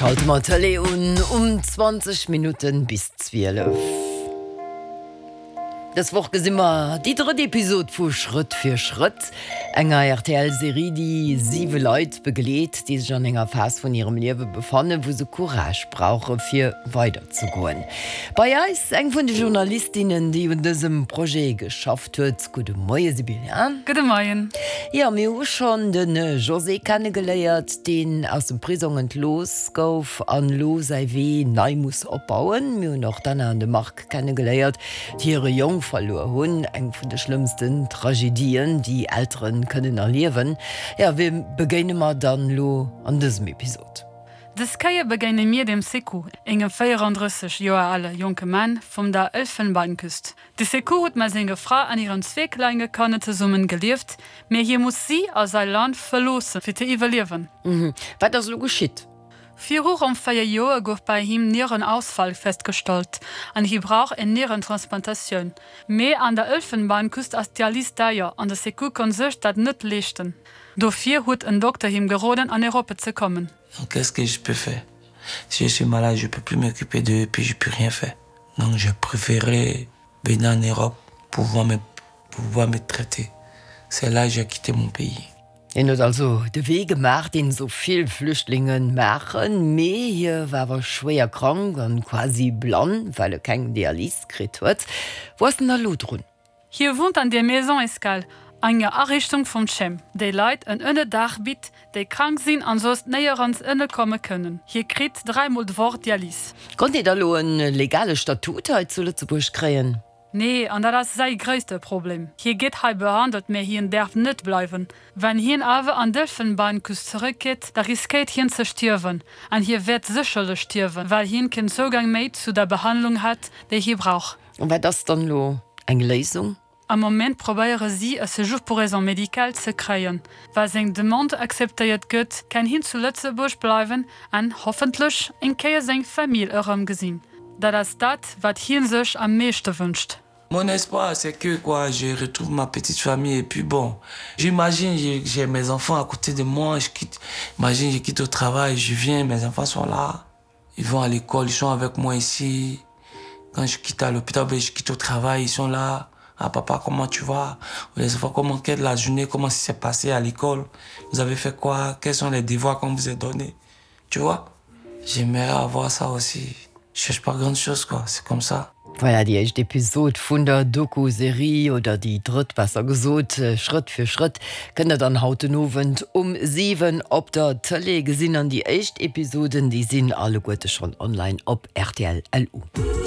Schalte mer d'Tëlee un um 20 Minutten bis 12. Dës Woch gesi mer déi drëtt Episod vu Schrëtt fir Schrëtt, enger RTL-Serie, déi siwe Leit begleet, déi sech an enger Phas vun hirem Liewe befannen, wou se Courage brauche fir weiderzegoen. Bei eis eng vun de Journalistinnen, déi un dësem Projet geschafft huet. Gudde Moie Sibylla. Gudde Moien. Jo, mir hu schonn de José kennegeléiert, deen aus dem Prisong entlooss gouf an elo säi Wee nei muss opbauen. Mir hunn och d'Anna an de Marc kennegeléiert, déi hire Jong verluer hunn, eng vun de schlëmmsten Tragedien, déi Eltere kënnen erliewen. Jo, wie begéine mer dann elo an dësem Episod? Dës Kéier begéine mir dem Sekou, engem 34 Joer ale jonke Mann vum der Elfenbeinküst. De Sekou huet mat senger Fra an hiren zwee klenge Kanner zesummen gelieft, mee hie muss si a säi Land verloossen, fir ze iwwerliewen. Wat ass elo geschitt? Viru ronn 4 Joer gouf bei him Nierenausfall festgestallt an hie brauch eng Nierentransplantatioun. Mee an der Elfenbeinküst ass d'Dialys deier an de Sekou konnt sech dat net leeschten. Dofir huet en Dokter him geroden an Europa ze kommen. Donc qu'est-ce que je peux faire? Si je suis malade, je peux plus m'occuper d'eux et puis je peux rien faire. Donc j'ai préféré venir en Europe pour pouvoir me, pour pouvoir me traiter. C'est là que j'ai quitté mon pays. Hien huet also de Wee gemaach, deen esou vill Flüchtlinge maachen, mee hie war awer schwéier krank an quasi blann, well e keng Dialys kritt huet. Wou ass en da lo drun? Hie wunnt an der Maison Escale, enger Ariichtung vum Chem, déi Leit en Ënnerdaach bitt, déi krank sinn an soss néierens ënnerkomme kënnen. Hie kritt dräimol d'Woch Dialys. Konnt hie da lo en legale Statut hei zu Lëtzebuerg kréien? Nee, an dat ass säi gréisste Problem. Hie gétt hei behandelt, mä hien däerf net bleiwen. Wann hien awer an d'Elfenbeinküst zeréckgeet, da riskéiert hien ze stierwen. An hie wäert sécherlech stierwen, well hien keen Zougang méi zu der Behandlung hätt, déi hie brauch. An wat ass dann elo eng Léisung? Am Moment probéiere si, e Séjour pour raisons médicales ze kréien. Wa seng Demande akzeptéiert gëtt, kann hien zu Lëtzebuerg bleiwen an hoffentlech eng Kéier seng Famill erëmgesinn. Dat ass dat, wat hie sech am meeschte wënscht. Mon espoir c'est que quoi je retrouve ma petite famille et puis bon j'imagine j'ai mes enfants à côté de moi je quitte imagine je quitte au travail je viens mes enfants sont là ils vont à l'école ils sont avec moi ici quand je quitte à l'hôpital je quitte au travail ils sont là ah papa comment tu vas les enfants comment quelle la journée comment ça s'est passé à l'école vous avez fait quoi quels sont les devoirs qu'on vous a donnés tu vois j'aimerais avoir ça aussi je cherche pas grande chose quoi c'est comme ça Voilà déi éischt Episod vun der Doku-Serie, oder déi drëtt besser gesot, Schrëtt fir Schrëtt kënnt der dann haut den Owend um 7 op der Tëlee gesinn. An déi éischt Episoden, déi sinn alleguerte schonn online op rtl. LU.